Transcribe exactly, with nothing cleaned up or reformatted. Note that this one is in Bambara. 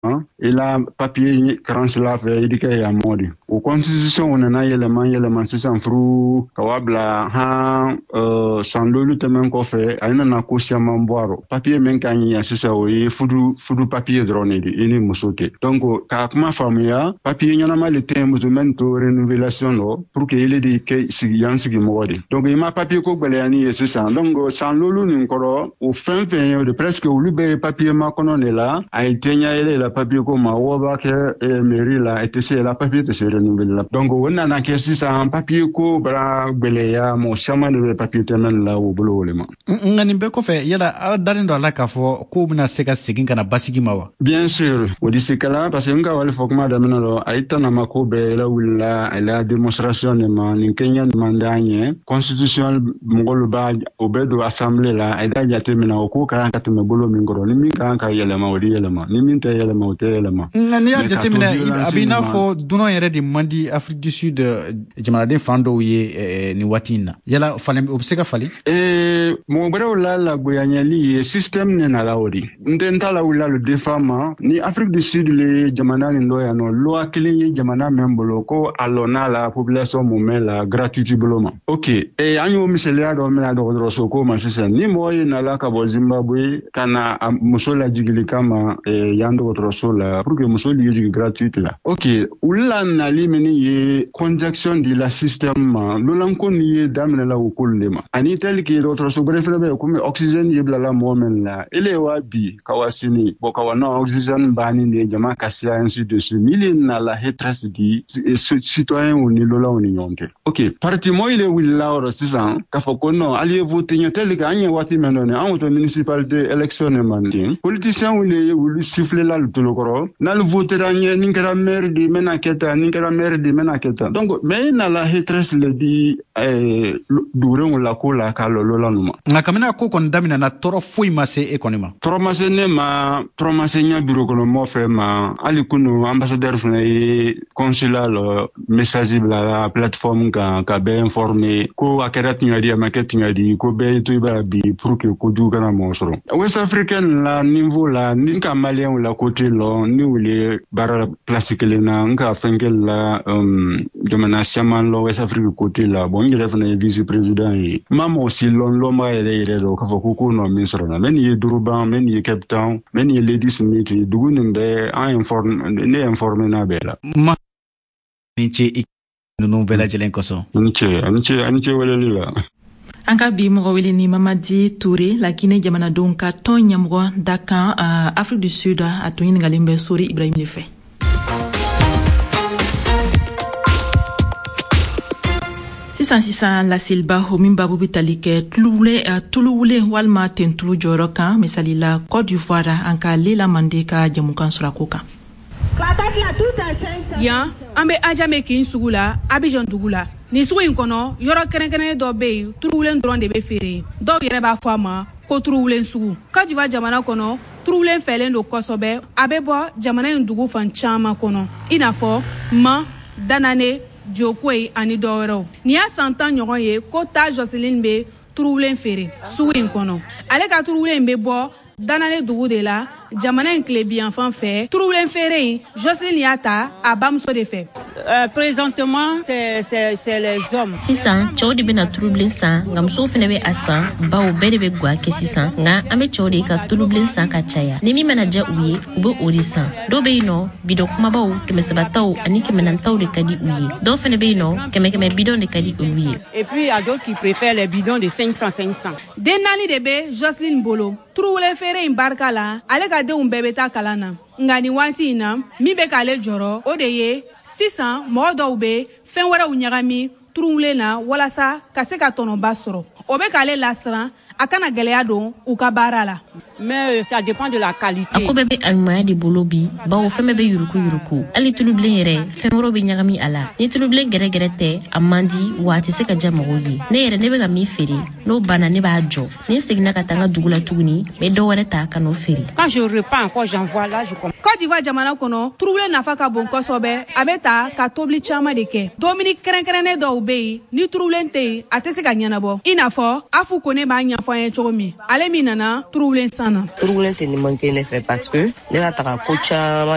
I la papier karansila fɛ, i di kɛ yan mɔ di. O constitution nana yɛlɛma yɛlɛma sisan, furu ka wa bila han uh, san lolu tɛmɛn kɔfɛ, a nana ko siaman bɔ a rɔ. Papier min ka ɲi yan sisan, o ye fudu fudu papier dɔrɔn de di, i ni muso tɛ. Donc k'a kuma faamuya, papier ɲɛnama le tɛ muso mɛn to renouvelation lɔ pour que ile de kɛ sigi yan sigi mɔgɔ de. Donc i ma papier ko gwɛlɛyani ye sisan. Donc san lolu nin kɔrɔ, o fɛn fɛn ye o de, presque olu bɛɛ ye papier makɔnɔ de la. A ye tɛɲa yɛlɛ la papier ko ma, wo b'a kɛ eh, mairie la, i tɛ se la papier tɛ se renouveler la. Donc o nana kɛ sisan papier ko bara gwɛlɛya, mɔgɔ caman de bɛ papier tɛmɛn la o bolo o le ma. Nka nin bɛɛ kɔfɛ, yala aw dalen don a la k'a fɔ k'o bɛna se ka segin ka na basigi ma wa? Bien sûr, o di se kala, parce que n ka wale fɔ kuma daminɛ lɔ, a ye tanama ko bɛɛ lawulila a la démonstration de ma. Nin kɛɲɛ man d'an ye, constitution mɔgɔlu b'a o bɛɛ don assemblée la, a ye da jate minɛ o ko ka kan ka tɛmɛ bolo min kɔrɔ. Ni min ka kan ka yɛlɛma, o di yɛlɛma, ni min tɛ yɛlɛma, o tɛ yɛlɛma. Nka n'i y'a jateminɛ, a b'i n'a fɔ dunan yɛrɛ de man di Afrique du Sud jamanaden fan dɔw ye nin waati in na. Yala falen o bɛ se ka falen? Ee, mɔgɔ wɛrɛw la lagoyanyali ye système ne nana o di. N tɛ n ta lawulila le defa ma ni Afrique du Sud le jamana nin dɔ yan nɔ. Loi kelen ye jamana min bolo ko a lɔnna la population mumɛ la gratuité bolo ma. Ok, ee, an y'o misaliya dɔ mina dɔgɔtɔrɔso ko ma sisan. Ni mɔgɔ ye nala ka bɔ Zimbabwe ka na a muso lajigili kama yan dɔgɔtɔrɔso la pour que muso ye jigin gratuite la, ok, olu la nali min ye conjonction de la système ma lolanko ni ye daminɛ la o kolu le ma. Ani tel que dɔgɔtɔrɔso gbɛrɛ fɛnɛ bɛ yen, komi oxygène ye bilala mɔgɔ min la, ele wa bi ka wa sini bɔn ka wa non oxygène banni de jama ka siya, ainsi de suite. Mili nala hatresse di citoyen ni lolaw ni ɲɔgɔn cɛ. Ok, parti mɔgɔ le wulila yɔrɔ sisan k'a fɔ ko non, hali ye vote ɲɛ tel que an ye waati min dɔn an to municipalité élection ne man ten, politicien le ye wuli siffler la le tolokɔrɔ n'ale votera ɲɛ, nin kɛra maire di, n bɛna kɛ tan, nin kɛra maire di, n bɛna kɛ tan. Donc mais i nala hatresse le di dugurenw la ko la k'a lɔ lola nu ma. Nka kabini a ko kɔni daminɛna, tɔɔrɔ foyi ma se e kɔni ma? Tɔɔrɔ ma se ne ma, tɔɔrɔ ma se ɲɛ bureau kɔnɔ mɔgɔ fɛ ma. Hali kunu ambassadeur fana ye consulat lɔ message bila la plateforme kan ka bɛɛ informer ko a kɛra tiɲɛ di, a ma kɛ tiɲɛ di, ko bɛɛ ye to i b'a bi pour que kojugu kana mɔgɔ sɔrɔ. West Africaine la niveau la, ni ka maliyɛnw la côté lɔ, ni wuli baara place kelen na, n ka fɛn kɛ la um, jamana caman lɔ West Afrique côté la. Bon, n yɛrɛ fana ye vice président ye, n ma mɔgɔ si lɔn lɔnbaga yɛrɛ yɛrɛ dɔn k'a fɔ ko ko nɔ min sɔrɔ na mɛ nin ye Durban, mɛ nin ye Cape Town, mɛ nin ye Ladysmith, dugu nin bɛɛ an informe, ne informé n'a bɛɛ la. Ma ni ce i ninnu bɛɛ lajɛlen kosɔn. Ani ce, ani ce, ani ce weleli la. An ka bi mɔgɔ wele ni Mamadi Toure, Laginɛ jamanadenw ka tɔn ɲɛmɔgɔ dakan uh, Afrique du Sud. A tun ɲiningalen bɛ Sori Ibrahim de fɛ. Sisan sisan, laseliba o min babu bɛ tali kɛ tuluwulen walima tentulu jɔyɔrɔ kan, misali la Côte d'Ivoire, an ka Lela Mande ka jɛmukan sɔrɔ a ko kan. Yan an bɛ Ajame kin sugu la, Abidjan dugu la. Nin sugu in kɔnɔ, yɔrɔ kɛrɛnkɛrɛnnen dɔ bɛ yen, turuwulen dɔrɔn de bɛ feere yen. Dɔw yɛrɛ b'a fɔ a ma ko turuwulen sugu. Côte d'Ivoire jamana kɔnɔ, turuwulen fɛlen don kosɛbɛ. A bɛ bɔ jamana in dugu fan caman kɔnɔ, i n'a fɔ Man, Danane, Diokoyi ani dɔwɛrɛw. Nin y'a san tan ɲɔgɔn ye ko Ta Joseline bɛ turuwulen feere sugu in kɔnɔ. Ale ka turuwulen bɛ bɔ Danane dugu de la, jamana in tilebiyanfan fɛ. Turuwulen feere in, Joseline y'a ta a bamuso de fɛ. Euh, présentement, c'est, c'est, c'est les hommes. Sisan cɛw de bɛna turubilen san, nka musow fɛnɛ bɛ a san, bawo bɛɛ de bɛ gwa kɛ sisan. Nka an bɛ cɛw de ka tulubilen san ka caya. Ni min mana diya u ye, u bɛ o de san. Dɔw bɛ yen nɔ, bidɔn kumabaw, kɛmɛ saba taw ani kɛmɛ naani taw de ka di u ye. Dɔw fɛnɛ bɛ yen nɔ, kɛmɛ kɛmɛ bidɔn de ka di olu ye. Et puis il y a d'autres qui préfèrent les bidons de cinq cents cinq cents. Den naani de bɛ Joseline bolo. Turuwulen feere in barika la, ale ka denw bɛɛ bɛ taa kalan na. Nka nin waati in na, min bɛ k'ale jɔrɔ, o de ye sisan mɔgɔ dɔw bɛ fɛn wɛrɛw ɲagami turuwulen na walasa ka se ka tɔnɔba sɔrɔ. O bɛ k'ale lasiran a kana gɛlɛya don u ka baara la. Mais ça dépend de la qualité. A ko bɛɛ bɛ a ɲumanya de bolo bi, bawo fɛn bɛɛ bɛ yuruku yuruku. Hali tulubilen yɛrɛ, fɛn wɛrɛw bɛ ɲagami a la. Ni tulubilen gɛrɛgɛrɛ tɛ, a man di wa a tɛ se ka diya mɔgɔw ye. Ne yɛrɛ, ne bɛ ka min feere, n'o banna, ne b'a jɔ. Ni n seginna ka taa n ka dugu la tuguni, n bɛ dɔ wɛrɛ ta ka n'o feere. Quand je repars encore, j'en vois là, je comprends. Côte d'Ivoire jamana kɔnɔ, turuwulen nafa ka bon kosɛbɛ. A bɛ ta ka tobili caman de kɛ. Dumuni kɛrɛnkɛrɛnnen dɔw bɛ yen, ni turuwulen tɛ yen, a tɛ se ka ɲɛnabɔ. I n'a fɔ Afu Kone b'a ɲɛfɔ an ye cogo min, ale min nana turuwulen san. an na. Turuwulen tɛ ni manqué ne fɛ parce que ne ka taga ko caman.